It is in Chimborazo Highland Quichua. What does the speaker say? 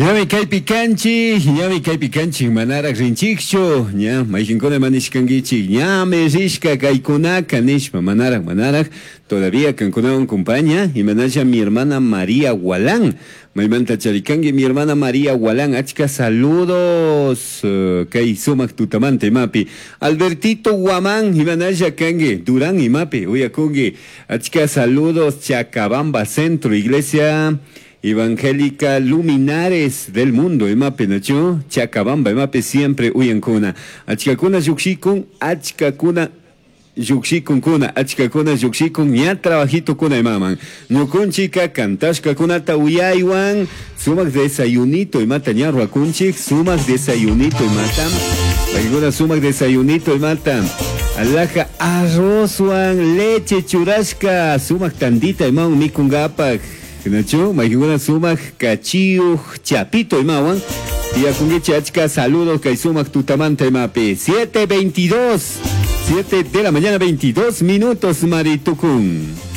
Ñami kaypi kanchik, ñami kaypi kanchik, manaraq rinchikchu, ña mayqinkuna ima nishkankichik, ñami rishka kaykunaka nishpa, manaraq, manaraq, todavía kankunawan compaña, imanalla mi hermana María Gualán, maymanta charikanki mi hermana María Gualán, achka saludos kay sumaq tutamanta imapi, Albertito Guamán, imanalla kanki, Durán imapi, uyakunki, achka saludos Chacabamba Centro, Iglesia Evangélica Luminares del Mundo, imapi, nachu? Chacabamba, imapi siempre uyankuna. Achkakuna llukshikun, achkakuna llukshikunkuna, achkakuna llukshikun, ña trabajitokuna imaman. Ñukunchika kantashkakunata uyaywan, sumak desayunito imata ña ruwakunchik, sumak desayunito imata. Paykuna sumak desayunito imata. Alaja arrozwan leche churashka, sumak tandita imawan mikunkapak. Nachu, mayqinkuna sumak kachiyuq chapito imawan. Tiyakunkichik achka saludos kay sumak tutamanta imapi. 7:22, 7 de la mañana 22 minutos maritukun.